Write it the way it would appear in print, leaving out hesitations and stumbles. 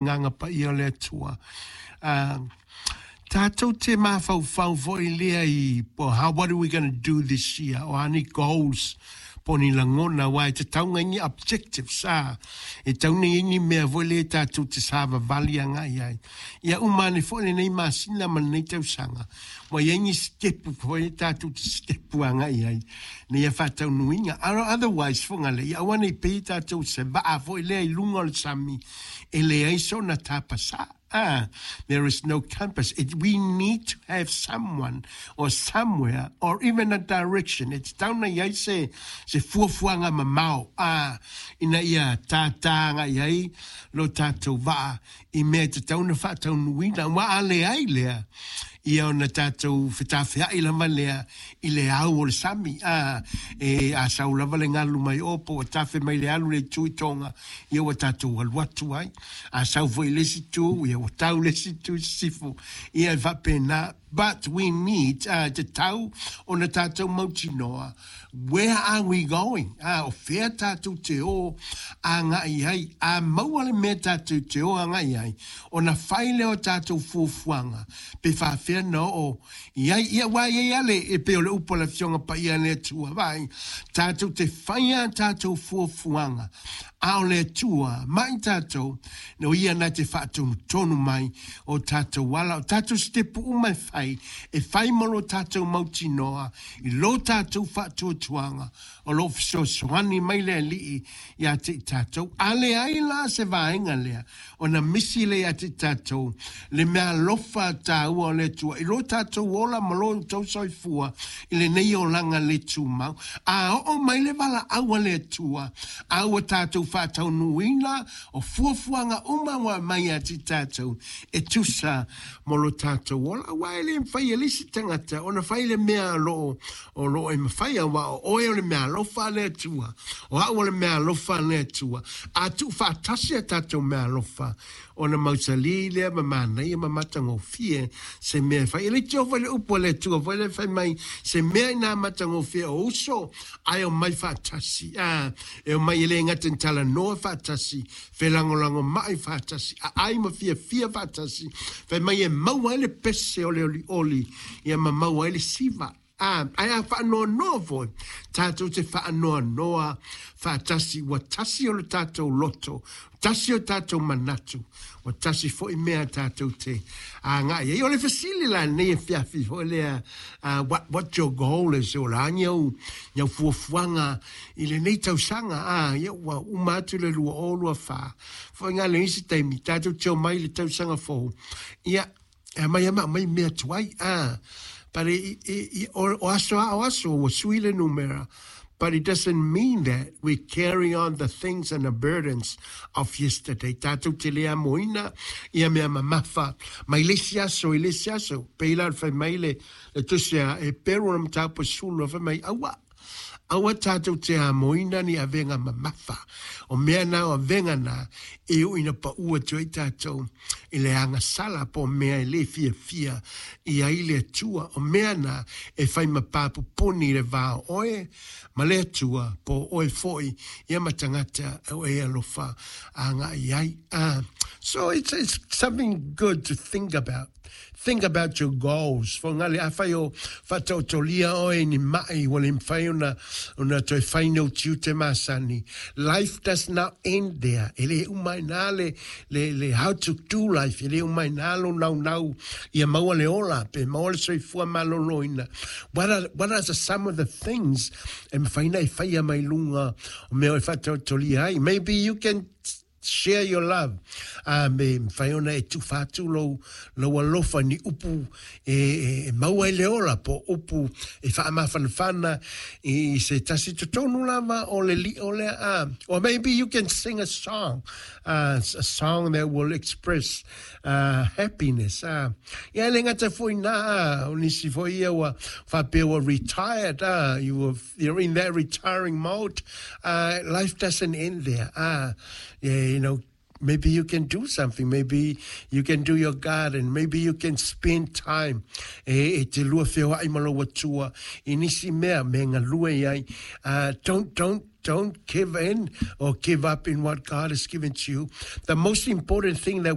Agaga Paia o le Atua. Tatou te mafaufau foi lea i how what are we going to do this year? O a ni goals po ni lagona aua e tatau ona i ai ni objectives a e tatau ona i ai ni mea foi lea tatou te savavali agai ai. Ia uma ane foi lenei masina ma lenei tausaga ua i ai ni sitepu foi lea tatou te sitepu agai ai ina ia faataunuuina. Otherwise foi na lea, ia aua ne i pei tatou se vaa foi lea i luga o le sami e leai sona tapasā. Ah, there is no compass. It, we need to have someone or somewhere or even a direction. E tatau ona i ai se, se fuafuaga mamao, ah, ina ia tātā agai ai lo tātou vaa i mea e tatau ona faataunuuina. Aua a leai lea, ia ona tātou fetafea'i lava lea i le au o le sami, a, e, a sau lava le galu mai ō po ua tafe mai le alu i le itu i Tonga, ia ua tātou alu atu ai. A sau foi i le isi itu, ia ua tau le isi itu i sisifo, ia e faapena. But we need, a, e tatau ona tātou mautinoa, where are we going? A, o fea tātou te ō agai ai? A maua le mea tātou te ō agai ai, ona whai lea o tātou fuafuaga, pe faafefea na oo i ai. Ia, aua e i ai lava le, e pei o le upu a le Afioga Paia a le Atua, vaai, tātou te whai a tātou fuafuaga, a o le Atua ma i tātou, o ia na te whaatonutonu mai o tātou ala, o tātou sitepu uma e whai, e whai mo lo tātou mautinoa, i lo tātou whaatuatuaga, o lo o fesoasoani mai le Alii ia te i tātou. A leai la se vaega lea, ona misi lea ia te i tātou, le mea alofa tāua o le Atua, i lo tātou ola ma lo outou soifua, i lenei olaga le tumau. A oo mai le valaau a le Atua, a ua tātou faataunuuina, o fuafuaga uma ua aumai ia te i tātou, e tusa mo lo tātou ola. Aua e le mafai e le isi tagata ona fai le mea o lo o, o lo o e mafai, aua o oe o le mea alofa a le Atua, o au o le mea alofa a le Atua. A tuufaatasi a tātou mea alofa, ona mausalī lea ma manaia ma matagofie se mea e fai. E leitioa foi le upu a le Atua foi lea fai mai, se mea inā matagofie o uso, ae omai faatasi. A, e omai e le gata i talanoa faatasi, felagolagomai faatasi, aai ma fiafia faatasi, fai mai e maua ai le pese o le olioli, ia ma maua ai le siva. Ā, ae a faanoanoa foi, tātou te faanoanoa faatasi, ua tasi o le tātou loto, tasi o tātou manatu, ua tasi foi mea tātou te agai ai. O le fesili la lenei afiafi foi lea, uh, what, what your goal is, o le a ni au, ni au fuafuaga i lenei tausaga, ā, ia ua uma atu le 2024. Foi ngā le isi taimi, tātou te omai i le tausaga fou, ia, E aumai ama aumai mea tuai, a, but i, i, i, o, o aso a o aso, ua sui le numera, but it doesn't mean that we carry on the things and the burdens of yesterday. Tātou te le amoina ia mea mamafa mai le isi aso i le isi aso. Pei la o le fai mai le, le tusi a Eperu o le mataupu e 12, fai mai, aua, Aua tātou te amoina ni avega mamafa, o mea na o avega na e ui na paʻu atu ai tātou i le agasala po o mea e le fiafia i ai le Atua, o mea na e whai ma pāpupuni i le va o oe ma le Atua, po o oe foi ia ma tangata o e alofa agai ai. So it's, it's something good to think about. Think about your goals. Fongale, afai o whaataotolia oe ni ma'i, ua le mafai ona, ona toe fai ni ou tiute masani. Life does not end there. E le uma ai nā le, le, le how to do life. E le uma ai nā lo naunau ia maua le ola, pe maua le soifua malōlōina. What are, what are the, some of the things e mafai ona e faia mai luga o mea o e whaataotolia ai? Maybe you can Share your love, a me mafai ona e tufa atu lou, lou alofa ni upu e, e, e maua ai le ola, po o upu e faamafanafana i se tasi totonu lava o le liʻo lea, a, or maybe you can sing a song, a song that will express uh, happiness. A, ia e le gata foi nā, a, o nisi foi ia ua faapea ua retired, a, you were You're in that retiring mode. Life doesn't end there. Yeah, you know, maybe you can do something. Maybe you can do your garden. Maybe you can spend time. E, e te lua feoa'i ma lou Atua i nisi mea me galue i ai. Don't, don't, don't give in or give up in what God has given to you. The most important thing that